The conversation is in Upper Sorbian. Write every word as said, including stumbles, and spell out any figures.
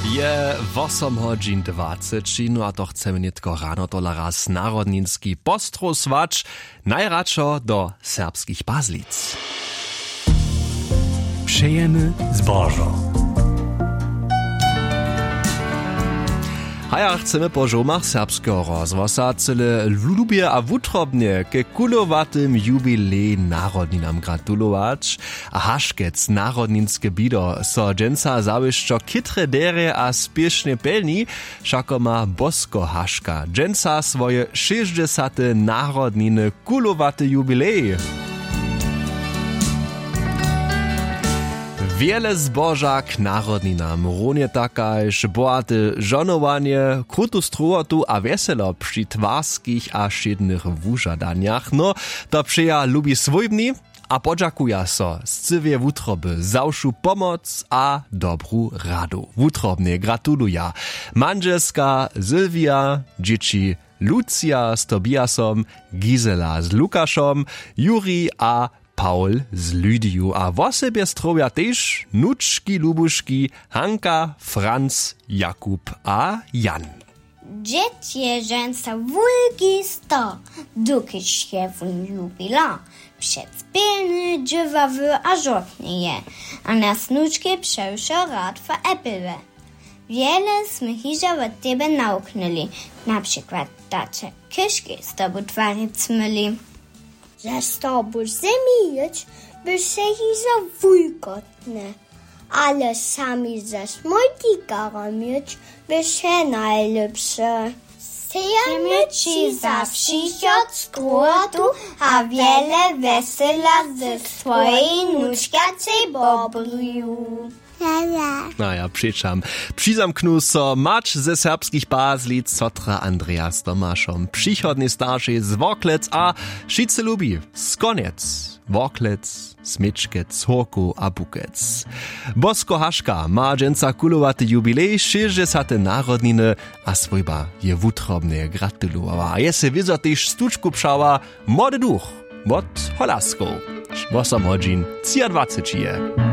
Je wosom hodźin dwaceći, no a to chcemy nětko rano tola raz narodninski postrowswać, najradšo do serbskich pazlic. Přejemy zbožo. Haja chcemy po žołmach serbskeho rozhłosa cyle lubje a wutrobnje ke kulowatym jubilej narodninam gratulować. A haškec narodninske bido so dźensa zawěsćo chytre derje a spěšnje pjelni. Wšako ma bosko haška dźensa swoje šěsćdźesate narodniny, kulowaty jubilej. Wjele zboža k narodninam, runje takaž bohate žonowanje, krutu strowotu a wjeselo při twarskich a wšědnych wužadanjach, no, to přeja lubi swójbni a podźakuja so scyłej wutroby za wšu pomoc a dobru radu. Wutrobnje gratuluja mandźelska Sylwija, dźěći Lucija z Tobiasom, Gisela z Lukašom, Juri a Paul z Lydiju a wosebje strowja tež nučki lubuški Hanka, Franc, Jakub a Jan. Dźěd je žensa wulki star, dokelž je wón jubilar, přec pěkny, dźěławy a žortny je a nas nučki přewšo rad foepeluje. Wjele smy hižo wot tebe nawuknyli, na přikład da će kyški z tobu twaric myli. Ze stobu zemi jěć by se hižo wulkotne, ale sami ze smójtikarom jěć by se najlěpše. Sejemy ći za přichod z kruhotu a wjele wjesela ze swojej nučkacej bobriju. Naja přećam. Přizamknu so mać ze serbskich pazlic sotra Andreas Tomašom, přichodnej staršej z Worklec a wšitcy lubi z Konjec, Worklec, Směčkec, Horkow a Bukec. Bosko haška ma dźensa kulowaty jubilej, šěsćdźesate narodniny, a swójba je wutrobnje gratulowała a je sej wězo tež stučku přała. Młody duch wot Holaskow, wosom hodźin třiadwaceći je.